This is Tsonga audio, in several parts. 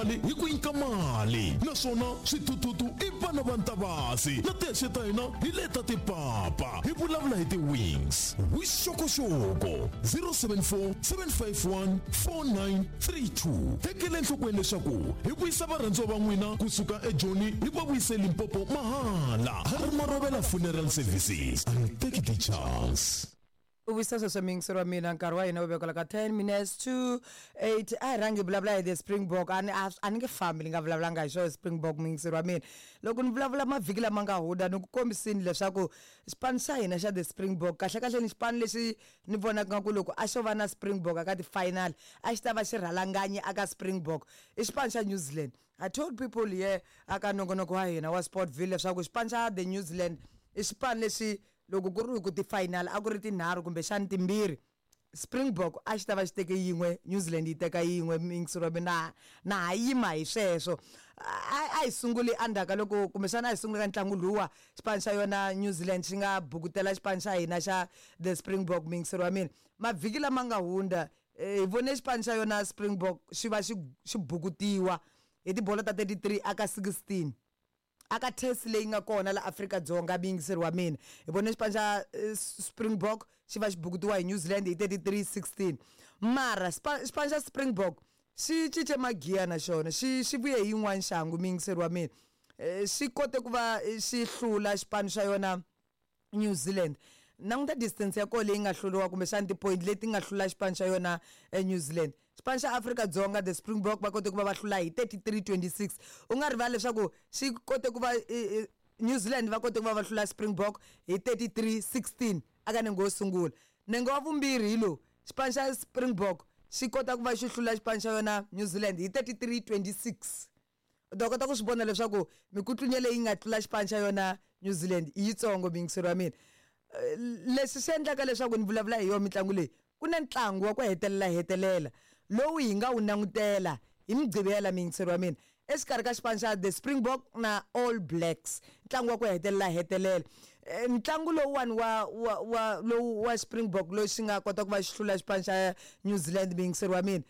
Hi ku nyika mali naswona swithuthuthu i vana va ntavasi na tihexe ta hina hi leta tipapa hi vulavula hi ti-wings vuxokoxoko 074 751 4932 tekela enhlokweni leswaku hi vuyisa varhandziwa va n'wina kusuka ejoni hi va vuyise limpopo mahala ha ri marovela funeral services and take the chance. U vuyisa sweswo muyingiseri wa mina, nkarhi wa hina wu vekela ka 10 minutes to 8. A hi rhangi hi vulavula hi the Springbok. A ni a ni nge fambi ni nga vulavulanga hi swona Springbok. Muyingiseri wa mina, loko ni vulavula mavhiki lama nga hundza, ni ku kombisini leswaku xipano xa hina xa the Springbok kahle kahle ni xipano lexi ni vonaka nga ku loko a xo va na Springbok aka ti-final a xi ta va xi rhalanganyi aka Springbok i xipano xa New Zealand. I told people here aka nongonoko wa hina wa Sportville leswaku xipano xa the New Zealand i xipano lexi loko ku ri ku ti-final a ku ri tinharhu kumbexani timbirhi, Springbok a xi ta va xi teke yin'we, New Zealand yi teka yin'we. Muyingiseri wa mina, na ha yima hi sweswo. A hi sunguli endzhaku ka loko kumbexana a hi sunguli ka ntlangu luwa xipano xa yona New Zealand xi nga bukutela xipano xa hina xa the Springbok. Muyingiseri wa mina, mavhiki lama nga hundza hi vone xipano xa yona Springbok xi va xi xi bukutiwa hi tibolo ta 33 aka 16 aka test leyi nga kona la Afrika-Dzonga. Muyingiseri wa mina, hi vone xipano xa Springbok xi va xi bukutiwa hi New Zealand hi 33-16, mara xipano xa Springbok xi cince magiya na xona xi vuye hi yin'wana xangu. Muyingiseri wa mina, xi kote ku va xi hlula xipano xa yona New Zealand. Languta distance ya kona leyi nga hluriwa kumbexana ti-point leti nga hlula xipano xa yona eNew Zealand. Xipano xa Afrika-Dzonga, the Springbok, va kote ku va va hlula hi 33-26. U nga rivali leswaku xi kote ku va New Zealand va kote ku va va hlula Springbok hi 33-16 aka nenge wo sungula. Nenge wa vumbirhi hi lowu, xipano xa Springbok xi kota ku va xi hlula xipano xa yona New Zealand hi 33-26. U ta kota ku swi vona leswaku mikutlunya leyi nga tlula xipano xa yona New Zealand i yitsongo. Muyingiseri wa mina, leswi swi endlaka leswaku ni vulavula hi yona mitlangu leyi, ku na ntlangu wa ku hetelela hetelela lowu hi nga wu langutela hi Mugqivela, muyingiseri wa mina, exikarhi ka xipano xa the Springbok na All Blacks, ntlangu wa ku hetelela hetelela. Ntlangu lowuwani wa lowu wa Springbok loyi xi nga kota ku va xi hlula xipano xa New Zealand, muyingiseri wa mina,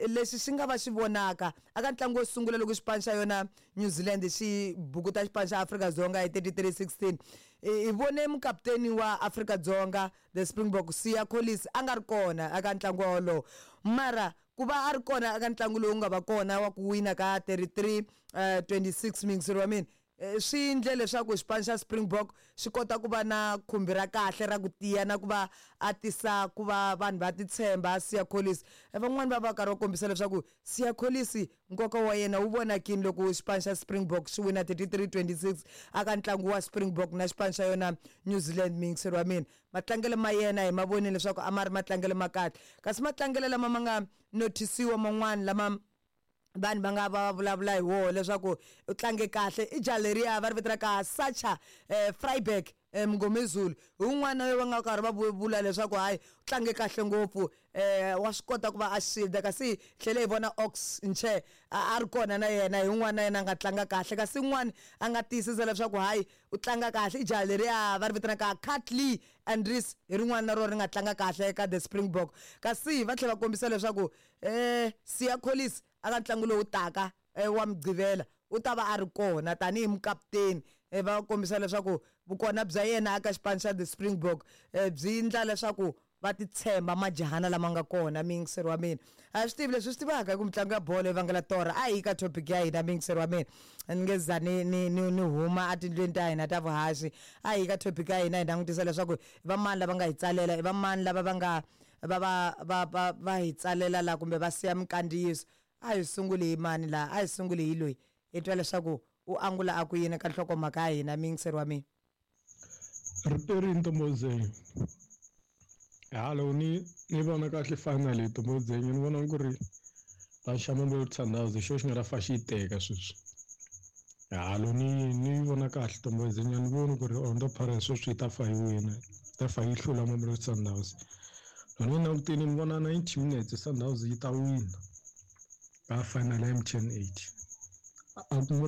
lexi xi nga va xi vonaka aka ntlangu wo sungula loko xipano xa yona New Zealand xi bukuta xipano xa Afrika-Dzonga hi 33-16, hi vone mukaputeni wa Afrika-Dzonga, the Springbok, Siya Kolisi, a nga ri kona eka ntlangu wolowo, mara ku va a ri kona eka ntlangu lowu nga va kona wa ku wina ka 33 26, muyingiseri wa mina, swi endle leswaku xipano xa Springbok xi kota ku va na khumbi ra kahle ra ku tiya na ku va a tisa ku va vanhu va titshemba. Siya Kolisi, van'wani va va karhi va kombisa leswaku Siya Kolisi nkoka wa yena wu vonakini loko xipano xa Springbok xi wina 33-26 aka ntlangu wa Springbok na xipano xa yona New Zealand. Muyingiseri wa mina, matlangelo ma yena hi ma vonile leswaku a ma ri matlangelo ma kahle, kasi matlangelo lama ma nga nothisiwa man'wani lama vanhu va nga va vulavula hi woho leswaku u tlange kahle i jaha leriya va ri vitanaka Sacha Freiberg Mngomezulu. Hi wun'wana va nga karhi va vula leswaku hayi, u tlange kahle ngopfu, wa swi kota ku va a shield. Kasi hi tlhele hi vona Ox Nche a ri kona na yena, hi wun'wana na yena a nga tlanga kahle. Kasi un'wana a nga tiyisisa leswaku hayi, u tlanga kahle i jaha leriya va ri vitanaka Kurt-Lee Andries, hi rin'wana na rona ri nga tlanga kahle ka the Springbok. Kasi va tlhela va kombisa leswaku Siya Kolisi aka ntlangu lowu taka wa Mugqivela u ta va a ri kona tanihi mukaputeni. Va kombisa leswaku vukona bya yena aka xipano xa the Springbok byi endla leswaku va titshemba majahana lama nga kona. Muyingiseri wa mina, a swi tivi leswi swi tivaka hi ku mitlangu ya bolo yi vangela torha. A hi ka topic ya hina, muyingiseri wa mina, ni nge za ni huma etindlwini ta hina ta vuhaxi. A hi ka topic ya hina, hi langutisa leswaku i va mani lava nga hi tsalela, i va mani lava va nga va va va va va hi tsalela la kumbe va siya minkandziyiso. A hi sunguli hi mani laha? A hi sunguli hi loyi, hi twa leswaku u angula a ku yini ka nhlokomhaka ya hina, muyingiseri wa mina. Riperini Ntombozeni, halo ni vona kahle final hi Ntombozeni, ni vona ku ri va xa Mamelodi Sundowns hi xona xi nga ta fa xi yi teka sweswi. Halo ni vona kahle Ntombozeni, a ni voni ku ri Orlando Pirates sweswi yi ta fa yi wina, yi ta fa yi hlula Mamelodi Sundowns. Loko ni langutile ni vona 90 minutes Sundowns yi ta wina ka final ya MTN 8. A ku.